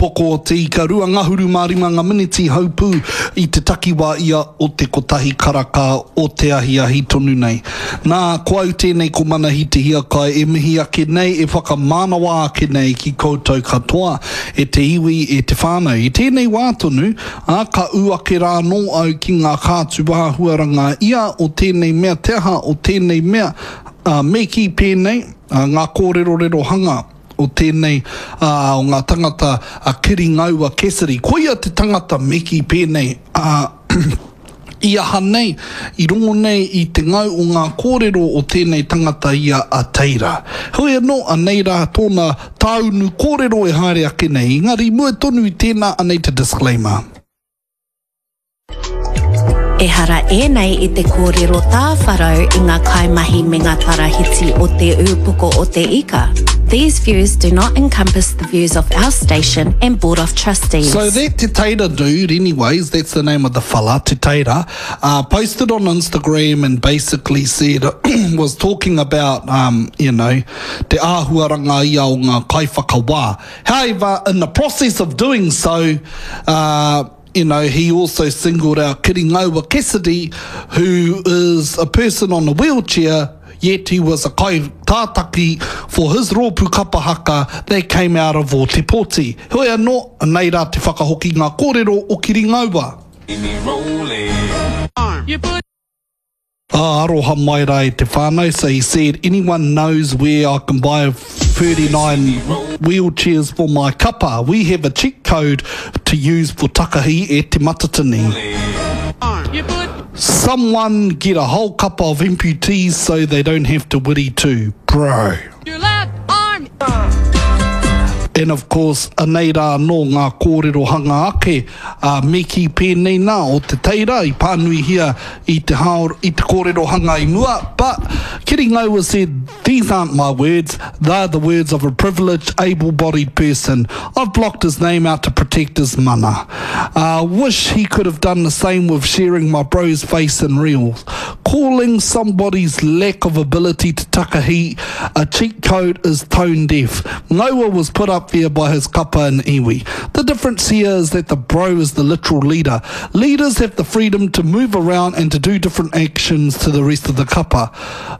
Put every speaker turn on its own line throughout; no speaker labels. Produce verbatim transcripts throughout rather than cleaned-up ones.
Ūpoko o Te Ika, rua ngahuru mā rima ngā miniti haupū i te takiwā ia o te kotahi karaka o te ahiahi tonu nei. Nā, ko au tēnei ko Manahi Te Hiakai e mihi ake nei, e whakamānawa ake nei ki koutou katoa, e te iwi, e te whānau. I tēnei wā tonu, ā, ka ū ake rā anō au ki ngā kātū āhuaranga ia o tēnei mea, te aha o tēnei mea, ā, me kī pēnei, ā, ngā kōrerorero hanga o tēnei, ā, o ngā tangata a Kiri Ngaua Cassidy. Koia te tangata me kī pēnei, ā, i aha nei, i rongo nei i te ngau o ngā kōrero o tēnei tangata ia a Teira. Heoi anō, anei rā tōna tāunu kōrero e haere ake nei, engari mua tonu i tēnā anei te disclaimer.
Ehara ēnei i te kōrero tāwharau i ngā kaimahi me ngā tarahiti o Te Ūpoko o Te Ika. These views do not encompass the views of our station and Board of Trustees.
So that Te Teira dude, anyways, that's the name of the fella, Te Teira, uh, posted on Instagram and basically said, was talking about, um, you know, te āhuaranga ia o ngā kaiwhakawā. However, in the process of doing so, uh, you know, he also singled out Kiri Ngaua Cassidy, who is a person on a wheelchair, yet he was a kai tātaki for his rōpū kapa haka that came out of Ōtepoti. Heoi anō, anei rā te whakahoki ngā kōrero o Kiri Ngaua. Oh, aroha mai rā e te whānau. So he said, anyone knows where I can buy thirty-nine wheelchairs for my kapa? We have a cheat code to use for takahi e Te Matatini. Someone get a whole kapa of amputees so they don't have to wiri too. Bro.
Your left arm.
And of course, anei rā anō ngā kōrero hanga ake, ā, me kī pēnei nā o Te Teira i pānuihia i te hao, i te kōrero hanga i mua, but Kiri Ngaua said, these aren't my words, they're the words of a privileged, able-bodied person. I've blocked his name out to protect his mana. Uh, wish he could have done the same with sharing my bro's face in reels. Calling somebody's lack of ability to takahi a cheat code is tone deaf. Ngaua was put up there by his kapa and iwi. The difference here is that the bro is the literal leader. Leaders have the freedom to move around and to do different actions to the rest of the kapa.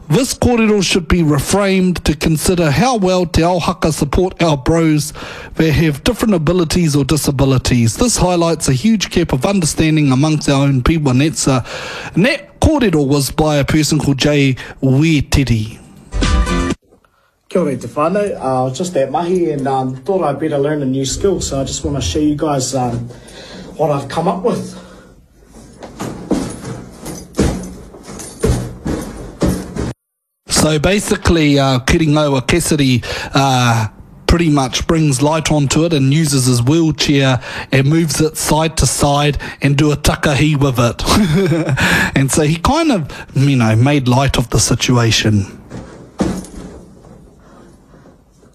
This kōrero should be reframed to consider how well Te Ao Haka support our bros that have different abilities or disabilities. This highlights a huge gap of understanding amongst our own people, and that's a, and that kōrero was by a person called Jay Wetiri.
Kia ora e te whānau, uh, I was just at mahi and um, thought I'd better learn a new skill, so I just wanna show you guys um, what I've come up with.
So basically, uh, Kiri Ngaua Cassidy, uh, pretty much brings light onto it and uses his wheelchair and moves it side to side and do a takahi with it. And so he kind of, you know, made light of the situation.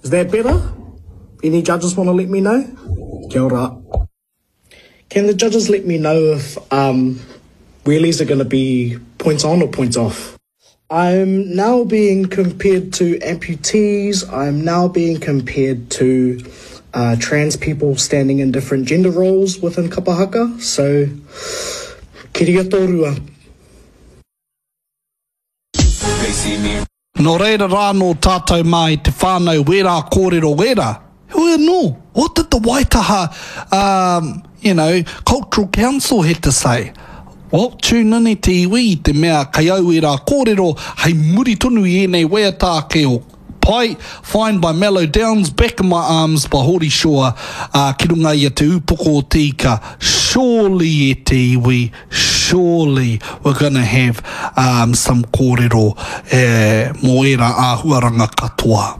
Is that better? Any judges wanna let me know? Kia ora. Can the judges let me know if, um, wheelies are gonna be points on or points off? I'm now being compared to amputees. I'm now being compared to, uh, trans people standing in different gender roles within kapa haka. So, kiria tōrua.
Nō reira rā nō tātou mā i te whānau wērā kōrero wērā. Heoi anō, what did the Waitaha, um, you know, Cultural Council had to say? Well, tune in e te iwi i te mea kei au ērā kōrero hei muri tonu i ēnei waiata ake o Pai, Find by Mellow Downs, Back in My Arms by Hori Shaw, ā, ki runga i a Te Ūpoko o Te Ika. Surely e te iwi, surely we're gonna have um, some kōrero eh, mō ērā āhuaranga katoa.